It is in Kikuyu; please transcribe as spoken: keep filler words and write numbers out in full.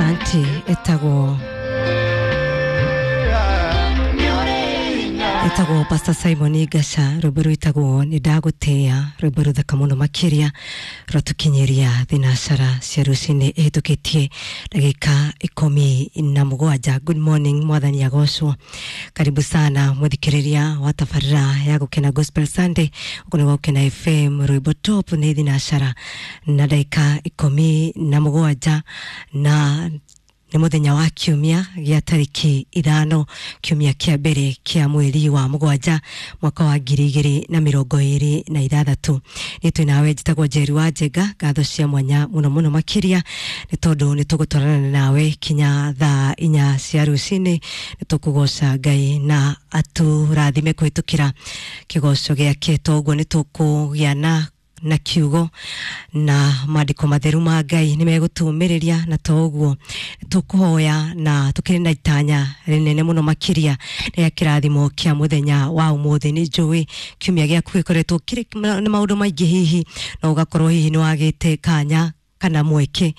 Asante. Etagwo etagwo Pastor Simon Gasha, rwimbo rwitagwo nĩ ndagũtĩa, rwimbo rũthaka mũno makĩria rwatũkinyĩria thinacara cia rũcinĩ ĩhĩtũkĩtie ndagĩka ikũmi na mũgwanja. Good morning, mwathani agocwo. Karibu sana mũthikĩrĩria wa tabarĩra ya Gũkena Gospel Sunday ũkũ nĩ Gũkena F M. Rwimbo top nĩ thinacara na ndagĩka ikũmi na mũgwanja, na nĩ mũthenya wa kiumia gĩa tarĩki ithano, kiumia kĩa mbere kĩa mweri wa mũgwanja, mwaka wa ngiri igĩrĩ na mĩrongo ĩrĩ na ithathatũ. Nĩ twĩ nawe, njĩtagwo Njeri wa Njenga. Ngatho cia mwanya mũno mũno makĩria nĩ tondũ nĩ tũgũtwarana nawe kinya thaa inya cia rũcinĩ. Nĩ tũkũgoca Ngai na atũrathime kũhĩtũkĩra kĩgoco gĩake. Toguo nĩ tũkũgĩa na na kiugo na maandĩko matheru ma Ngai nĩ megũtũmĩrĩria, na to ũguo tũkũhoya na tũkĩrĩ na itanya rĩnene mũno makĩria rĩa kĩrathimo kĩa mũthenya wa ũmũthĩ. Nĩ njũĩ kiumia gĩaku gĩkoretwo kĩrĩ na maũndũ maingĩ, hihi no ũgakorwo hihi nĩ wagĩte kanya kana mweke.